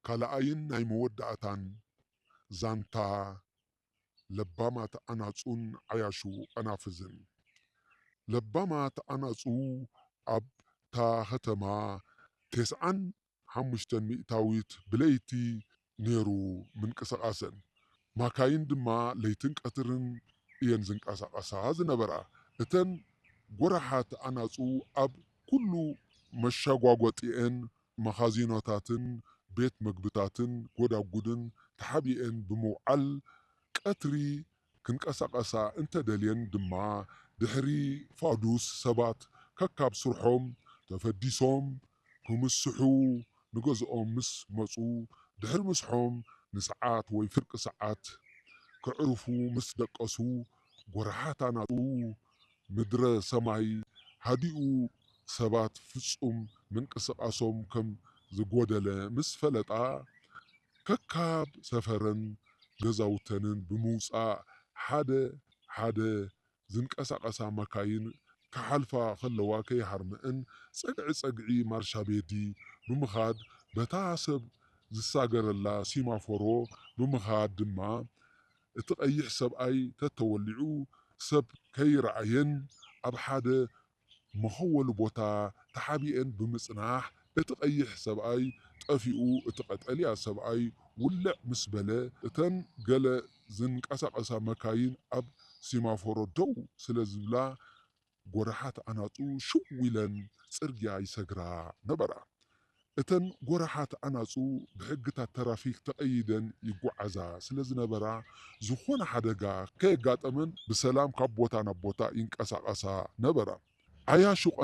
ካልኣይን ናይ መወዳእታን ዛንታ ለባማት ኣናጹን ዓያሹ ቀናፍዝን። ለባማት ኣናጹ ኣብታ ከተማ ተስዓን ሓሙሽተን ሚእታዊት ብለይቲ ነይሩ ምንቅስቓሰን። ማካይን ድማ ለይትን ቀትርን እየን ዝንቀሳቐሳ ዝነበራ። እተን ጎራሓት ኣናጹ ኣብ ኩሉ መሸጓጎጢኤን፣ መኻዚኖታትን ቤት መግብታትን ጎዳጉድን ተሓቢኤን ብምውዓል፣ ቀትሪ ክንቀሳቐሳ እንተደልየን ድማ፣ ድሕሪ ፋዱስ ሰባት ከካብ ስርሖም ተፈዲሶም ክምስሑ ንገዝኦም ምስ መጹ፣ ድሕሪ ምስሖም ንሰዓት ወይ ፍርቂ ሰዓት ከዕርፉ ምስ ደቀሱ፣ ጎራሓት ኣናጹ ምድረ ሰማይ ሃዲኡ፣ ሰባት ፍጹም ምንቅስቓሶም ከም ዝጎደለ ምስ ፈለጣ፣ ከካብ ሰፈረን ገዛውተንን ብምውጻእ፣ ሓደ ሓደ ዝንቀሳቐሳ መካይን ክሓልፋ ከለዋ ከይሃርመአን፣ ጸግዒ ጸግዒ ማርሻ ቤዲ ብምኻድ፣ በታ ሰብ ዝሳገረላ ሲማፎሮ ብምኻድ ድማ፣ እቲ ቀይሕ ሰብኣይ ተተወሊዑ ሰብ ከይረኣየን፣ ኣብ ሓደ መኸወሊ ቦታ ተሓቢኤን ብምጽናሕ፣ እቲ ቀይሕ ሰብኣይ ጠፊኡ፣ እቲ ቀጠልያ ሰብኣይ ውልዕ ምስ በለ፣ እተን ገለ ዝንቀሳቐሳ መካይን ኣብ ሲማፎሮ ደው ስለ ዝብላ፣ ጎራሓት ኣናጹ ሽው ኢለን ጽርግያ ይሰግራ ነበራ። እተን ጎራሓት ኣናጹ ብሕግታት ተራፊክ ተቐይደን ይጓዓዛ ስለ ዝነበራ፣ ዝኾነ ሓደጋ ከየጋጠመን ብሰላም ካብ ቦታ ናብ ቦታ ይንቀሳቐሳ ነበራ። ዓያሹ